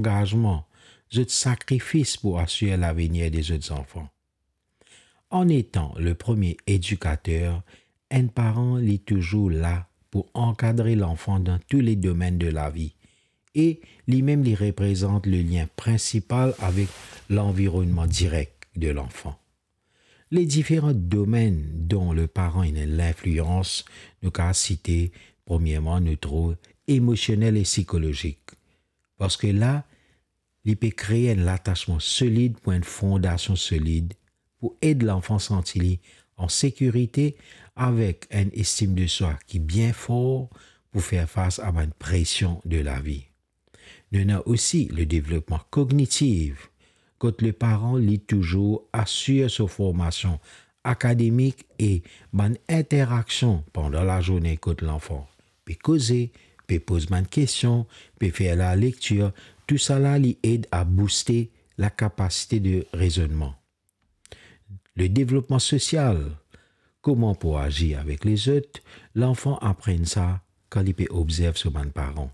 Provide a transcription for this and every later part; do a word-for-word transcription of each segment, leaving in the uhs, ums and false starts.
angazman, zot sakrifis pou asir lavenir de zot zanfan. An etan le premie edikater, enn paran li touzour la pou ankadre lanfan dan tou le domenn de lavi, e limem li reprezant le lien prinsipal avek lanvironnman direk de lanfan. Le diferan domenn dan le paran ena linflians, nou kav site, premierman, nou trouv emosionel e sikolozik. Parski la, li pe kree enn latasman solid pou enn fondasion solid pou ed lanfan santi li an sekirite avek enn estim de swa ki bien for pou fer fas a bann presion de lavi. Nou ena osi le devlopman kognitif, kot le paran li touzour asir so formasion akademik e bann interaksion pandan lazourne kot lanfan pe koze, pe poz bann kestion, pe fer lalektir, tousala li ed a bouste lakapasite de rezonnman. Le devlopman sosial, kouma pou azir avek lezot, lanfan aprann sa kan li pe obzerv so bann paran.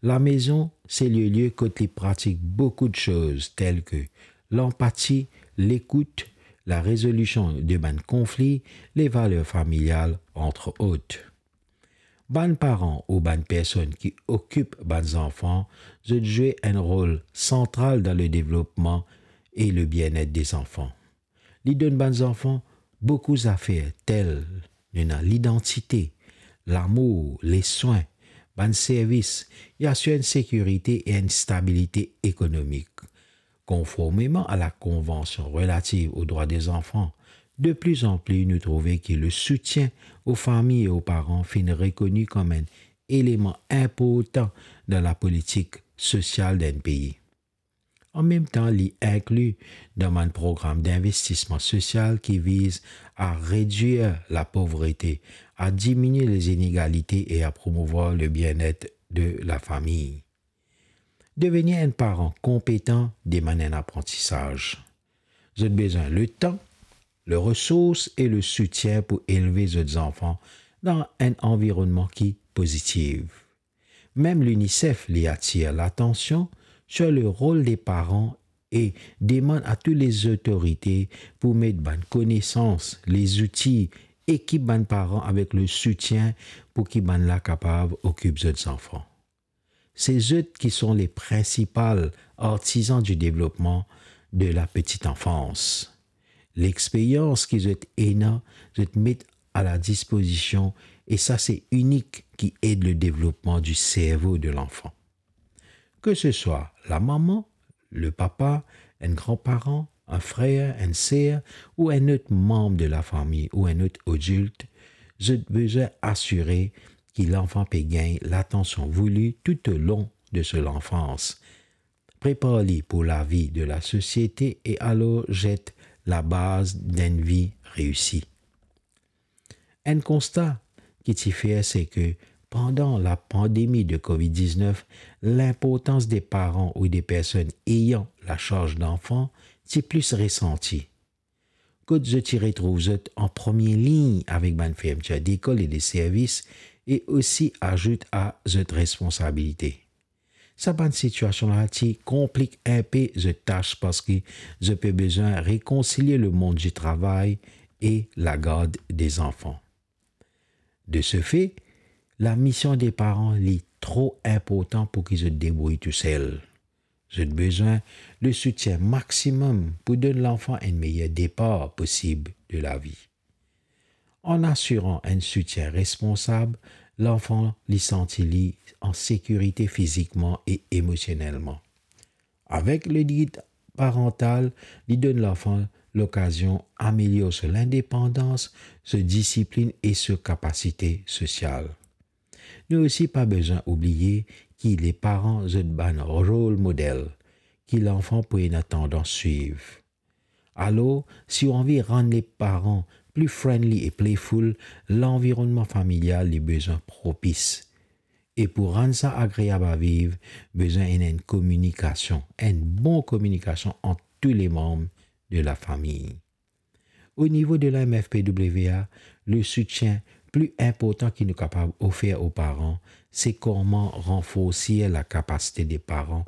Lamezon, se le lie kot li pratik boukou de soz, tel ke lanpati, lekout, larezolision de bann konfli, levaler familial, antre ot. Bann paran ou bann personn ki okip bann zanfan, zot zwe enn rol santral dan le devlopman e le bienet de zanfan. Li donn bann zanfan boukou zafer tel ena lidantite, lamour, leswin, bann servis, li asir enn sekirite e enn stabilite ekonomik. Konformeman a la Konvansion relativ o drwa de zanfan, de plizanpli nou trouve ki le soutien o fami e o paran finn rekoni kom enn eleman inportan dan lapolitik sosial d'enn pei. An mem tan, li inkli dan bann program dinvestisman sosial ki viz a redwir lapovrete, a diminie lezinegalite e a promouvwar le bienet de lafami. Devenir enn paran konpetan demann enn aprantisaz. Zot bezwin letan, leresours e lesoutien pou elve zot zanfan dan enn anvironnman ki pozitif. Mem l'UNICEF li atir latansion sur le rol de paran e demann a tou lezotorite pou met bann konesans, lezouti, ekip bann paran avek lesoutien pou ki bann la kapav okip zot zanfan. Se zot ki son le prinsipal artizan di devlopman de la petite enfance. Lexperyans ki zot ena, zot met a la dispozision, e sa se inik ki ed le devlopman di servo de lanfan. Ke se swa lamama, lepapa, enn granparan, enn frer, enn ser, ou enn lot manb de lafami ou enn lot adilt, zot bizin asire ki lanfan pe gagn latansion vouli toutolong de so lanfans. Prepar li pou lavi de lasosiete e alor zet labaz d'enn vi reisi. Enn konsta ki ti fer, se ke pandan lapandemi de covid diznef, linportans de paran ou de personn ayant lasarz danfan ti plis resanti. Kot zot ti retrouv zot an premie lign avek bann fermitir dekol e de servis, e osi azout a zot responsabilite. Sa bann sitiasion la ti konplik inpe zot tas, parski zot pe bizin rekonsilie lemond di travay e lagard de zanfan. De se fe, lamision de paran li tro inportan pou ki zot debrouy tousel. Zot bizin lesoutien maximum pou donn lanfan enn meyer depar posib de lavi. An asiran enn soutien responsab, lanfan li santi li an sekirite fizikman e emosionelman. Avek le gid parantal, li donn lanfan lokazion amelior so lindepandans, so disiplin e so kapasite sosial. Nou osi pa bizin oubliye ki leparan zot bann rol model ki lanfan pou ena tandans swiv. Alor, si ou anvi rann leparan pli friendly e playful, lanvironnman familial li bizin propis. E pou rann sa agreab a viv, bizin ena enn kominikasion, enn bon kominikasion ant tou lemanb de lafami. O nivo de la M F P W A, le soutien pli inportan ki nou kapav ofer o paran, se koman ranforsi lakapasite de paran